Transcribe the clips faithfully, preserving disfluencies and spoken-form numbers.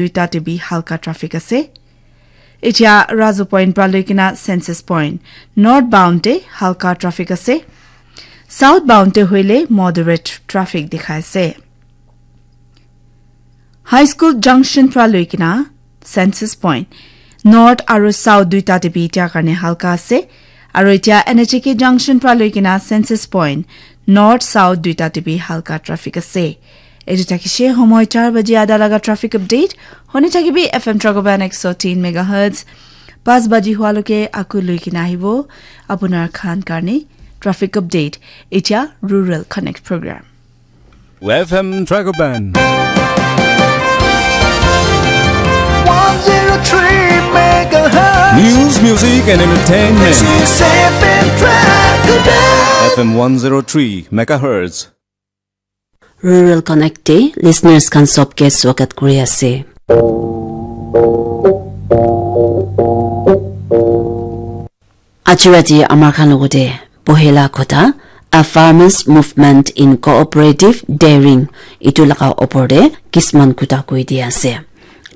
duita te bi halka traffic ase. Etia Razu Point pra loikena Census Point north bound te halka traffic ase. South bound te hoile moderate traffic dikhai ase. High School Junction pra loikena Census Point north aru south duita te bi etia karne halka ase. Aru etia N H A K Junction pra loikena Census Point north south duita te bi halka traffic ase. Etu thakishe homoi char baji ada laga traffic update. Hone thakibi F M Tragoban ek so tin megahertz. Pas baji hua loke aku loikena ahibo. Apunar khan karne traffic update. Etia Rural Connect program. F M Tragoban. One zero three megahertz. News, music, and entertainment. This is F M Tragoban. F M one zero three megahertz. Rural Connect te listeners khan sob ke swagat kuri ase. Aji rati amar khan logote pohela kotha, A Farmers Movement in Cooperative Dairying, itu laga opor te kisman kotha koi di ase.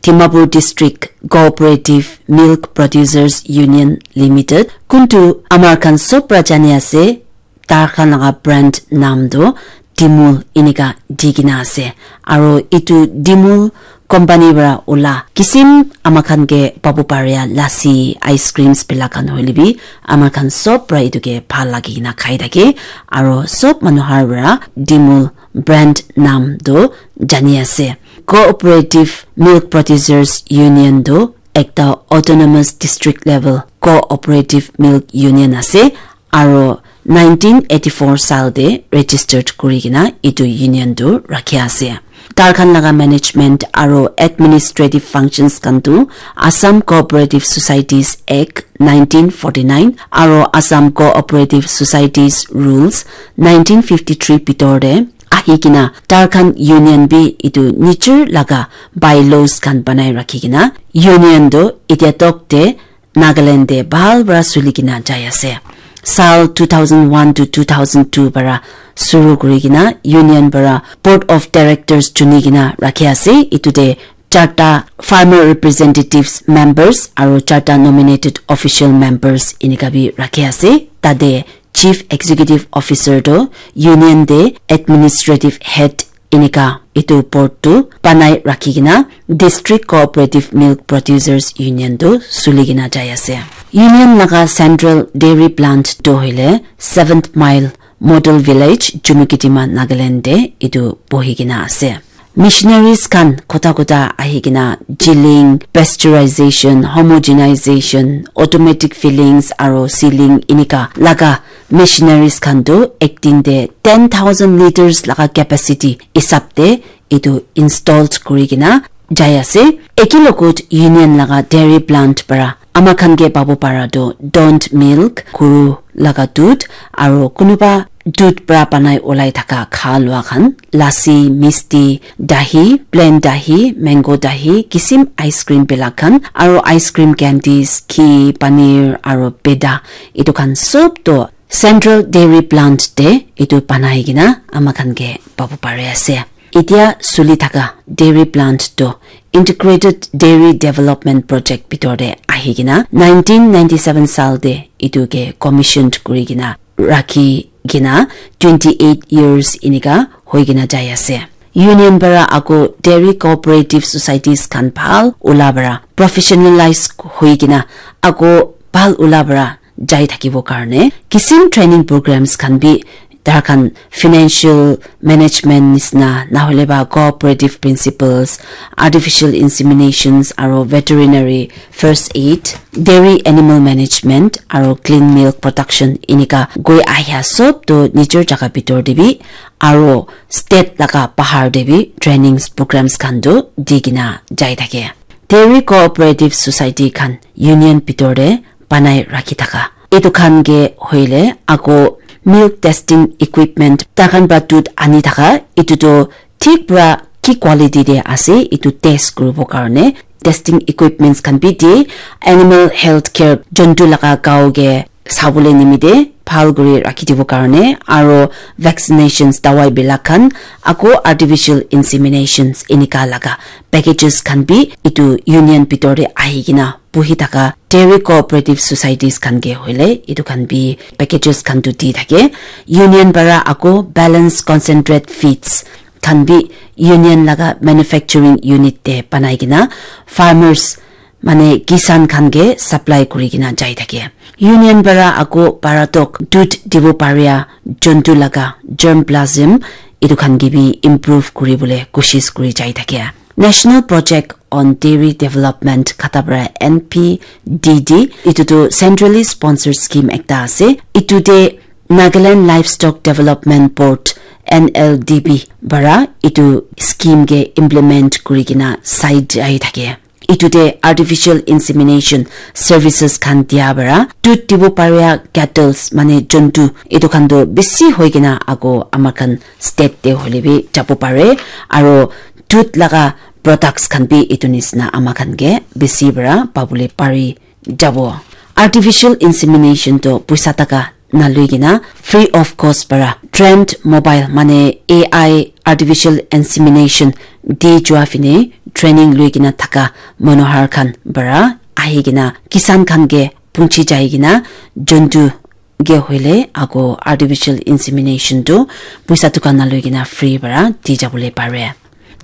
Dimapur District Cooperative Milk Producers Union Limited, kuntu amar khan sob pra jani ase, tar khan laga brand nam tu Dimul inika di kena ase. Aro itu Dimul company pra ula kisim ama khan ke pabu paria lassi, ice creams bila khan hoile bi ama khan sob pra itu ke bhal lagi kena khai thake. Aro sob manu har pra Dimul brand nam tu jani ase. Cooperative Milk Producers Union tu ekta autonomous district level cooperative milk union ase. Aro nineteen eighty-four sal te registered kuri kena itu union tu rakhi ase. Tar khan laga management aro administrative functions khan tu Assam Cooperative Societies Act nineteen forty-nine aro Assam Cooperative Societies Rules nineteen fifty-three bitor te ahi kena tar khan union bi itu nijor laga bylaws khan banai rakhi kena union tu itia tok te Nagaland te bhal para suli kena jai ase. Sal two thousand one to two thousand two para suru kuri kena union para board of directors chuni kena rakhi ase. Itu te charta farmer representatives members aro charta nominated official members inika bi rakhi ase. Tate chief executive officer to union te administrative head inika itu board tu banai rakhi kena District Cooperative Milk Producers Union tu suli kena jai ase. Union laga central dairy plant tu hoile seventh mile model village Chumukedima Nagaland te itu bohi kena ase. Missionaries khan kotha kotha ahi kena chilling, pasteurization, homogenization, automatic fillings aro sealing inika laga missionaries khan tu ek din te ten thousand liters laga capacity hisab te itu installed kuri kena jai ase. Eki logot union laga dairy plant para ama khan ke pabo para tu don't milk, guru laga dudh, aro kunuba dudh para banai ulai thaka kha lua khan, lassi, misti, dahi, plain dahi, mango dahi, kisim ice cream bilak khan, aro ice cream candies, ghee, paneer, aro peda, itu khan sob to central dairy plant te itu banai kena ama khan ke pabo pare ase. Itia suli thaka dairy plant to Integrated Dairy Development Project bitor te ahi kena nineteen ninety-seven sal te itu ke commissioned kuri kena rakhi kena twenty-eight years inika hoi kena jai ase. Union para ako dairy cooperative societies khan bhal ula para professionalize hoi kena ako bhal ula para jai thakibo karne kisim training programs khan bi tar khan financial management nisna nahole ba cooperative principles, artificial inseminations aro veterinary first aid, dairy animal management aro clean milk production inika goi ahia sob to nijor jaga bitor te bi aro state laga bahar te bi trainings programs khan to di kena jai thake. Dairy cooperative society khan union bitor te banai rakhi thaka. Etu khan ke hoile ako milk testing equipment takhan para dudh ani thaka, etu tu thik para ki quality te ase etu test kuribo karne testing equipments khan bi di, animal health care jontu laga gao ke sabole nimite bhal kuri rakhi dibo karne, aro vaccinations, dawai bilak khan, ako artificial inseminations enika laga packages khan bi etu union bitor te ahi kena buhi thaka dairy cooperative societies khan ke hoile etu khan bi packages khan tu di thake. Union para ako balance concentrate feeds khan bi union laga manufacturing unit te banai kena farmers mane kisan khan ke supply kuri kena jai thake. Union para ako baratok dud dibo paria jontu laga germplasm etu khan ke bi improve kuri bole koshish kuri jai thake. National Project on Dairy Development kata para N P D D, etu tu centrally sponsored scheme ekta ase. Etu te Nagaland Livestock Development Board, N L D B, bara etu scheme ke implement kuri kena sai jai thake. Etu te artificial insemination services khan dia bara dud dibo paria cattles mane jontu etu khan tu bisi hoi kena ako ama khan state te hoile bi jabo pare, aro dud laga products khan bi etu nisna ama khan ke bisi bara pabole pari jabo. Artificial insemination to puisa taka nalui kena free of cost para trained mobile mane A I artificial insemination di jua fine training lui kena thaka manohar khan bara ahi kena kisan khan ke punchi jai kena jontu ke hoile ako artificial insemination tu puisa dukan na loi kena free bara di jabole pare.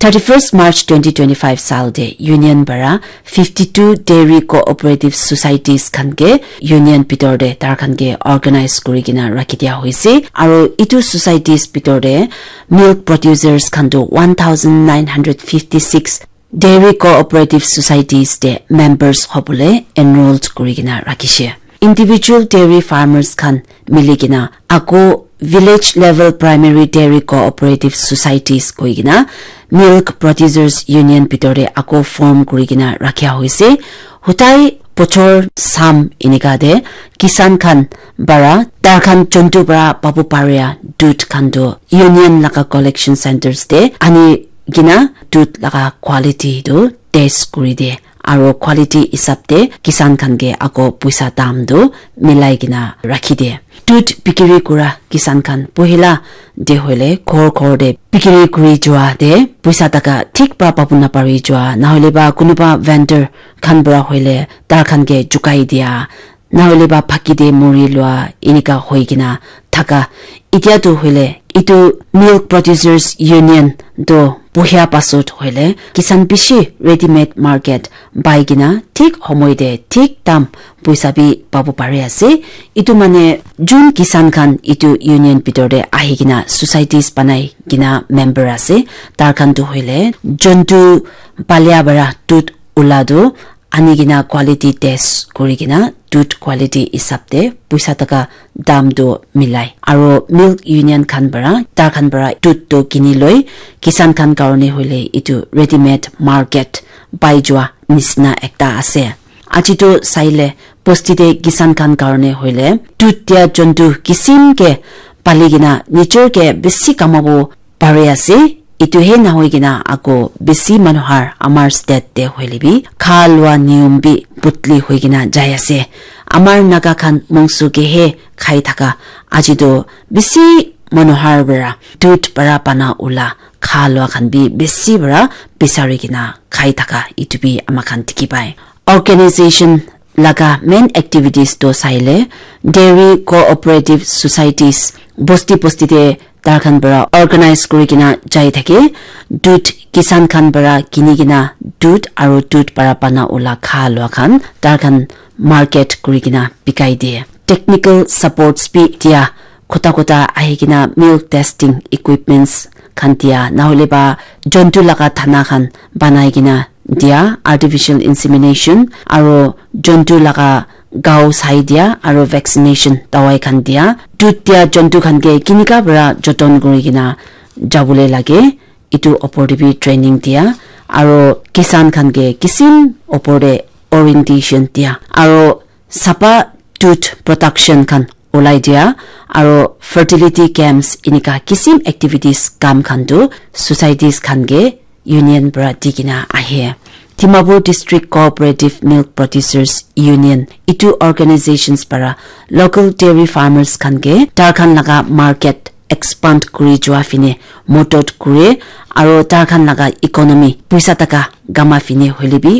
Thirty-first March twenty twenty-five sal de union bara fifty-two dairy cooperative societies khan ke union bitor de tar khan ke organize kuri kena rakhi dia hoise, aro itu societies bitor de milk producers khan tu one thousand nine hundred fifty-six dairy cooperative societies te members hobole enrolled kuri kena rakhishe. Individual dairy farmers khan mili kena ako village level primary dairy cooperative societies koi kena milk producers union bitor te ako form kuri kena rakhia hoise. Hutai bochor sam enika te kisan khan bara tar khan jontu bara pabu paria dud khan tu union laga collection centers te ani kena dud laga quality tu test kuri de, aro quality hisab te kisan khan ke ako puisa dam tu milai kena rakhi de. Dud bikiri kura kisan khan pohila de hoile ghor ghor de bikiri kuri jua de puisa taka thik pra pabu napari jua, nahole ba kunuba vendor khan pra hoile tar khan ke jukai dia, nahole ba phaki de mori lua enika hoi kena thaka. Itya tu hoile itu milk producers union tu buhia pasot hoile kisan bishi ready made market pai kena thik homoi te thik dam puisa bi pabu pari ase. Itu mane jun kisan khan itu union bitor te ahi kena societies banai kena member ase, tar khan tu hoile jontu palia bara dud ula tu ani kena quality test kuri kena dud quality hisab te puisa taka dam tu milai. Aro milk union khan para, tar khan para dud tu kini loi, kisan khan karone hoile itu ready made market pai jua nisna ekta ase. Aji tu saile bosti te kisan khan karone hoile dud dia jontu kisim ke pali kena nijor ke bisi kamabo pari ase. Itu he nahoi kena ako bisi manu har amar state te hoile bi kha lua niyom bi putli hoi kena jai ase. Amar Naga khan mongso ke he khai thaka aji tu bisi manu har para dud para pana ula kha lua khan bi bisi para bisari kena khai thaka itu bi ama khan dikhi pai. Organization laga main activities to saile dairy cooperative societies bosti bosti te tar khan para organize kuri kena jai thake. Dud kisan khan para kini kena dud aro dud para pana ula kha lua khan tar khan market kuri kena bikai de. Technical supports bi dia, kota kota ahi kena milk testing equipments khan dia, nahole ba jontu laga thana khan banai kena dia, artificial insemination aro jontu laga gao sai dia aro vaccination dawai khan dia. Dud dia jontu khan ke kinika para joton kuri kena jabole lage, itu opor te bi training dia aro kisan khan ke kisim opor te orientation dia aro sapa dud production khan ulai dia aro fertility camps enika kisim activities kam khan tu societies khan ke union para di kena ahe. Dimapur District Cooperative Milk Producers Union, itu organizations para local dairy farmers khan ke tar khan laga market expand kuri jua fine modot kure, aro tar khan laga economy, puisa taka gama fine hoile bi